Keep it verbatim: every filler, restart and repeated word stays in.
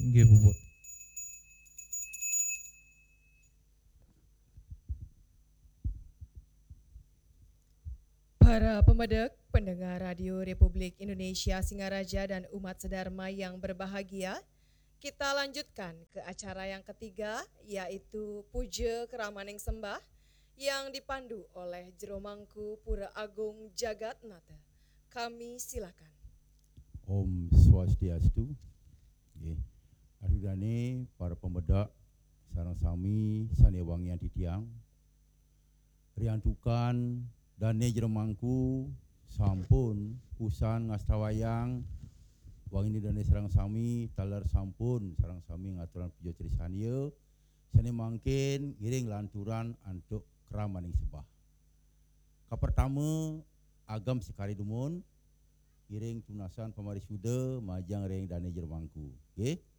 Inggih puput. Para pemedek, pendengar Radio Republik Indonesia Singaraja dan umat sedharma yang berbahagia, kita lanjutkan ke acara yang ketiga, yaitu Puja Keramaning Sembah yang dipandu oleh Jero Mangku Pura Agung Jagat Nata. Kami silakan. Om Swastiastu. Nggih. Aduh dane para pemedek sareng sami sane wangian titiang. Riantukan dane Jero Mangku sampun kusan ngastawayang wangine dane sareng sami taler sampun sareng sami ngaturan puja trisandya sane mangkin ngiring lanturan antuk keramaning sembah. Kapertama agem sekari dumun ngiring tunasan pamarisuda majeng ring dane Jero Mangku. Nggih.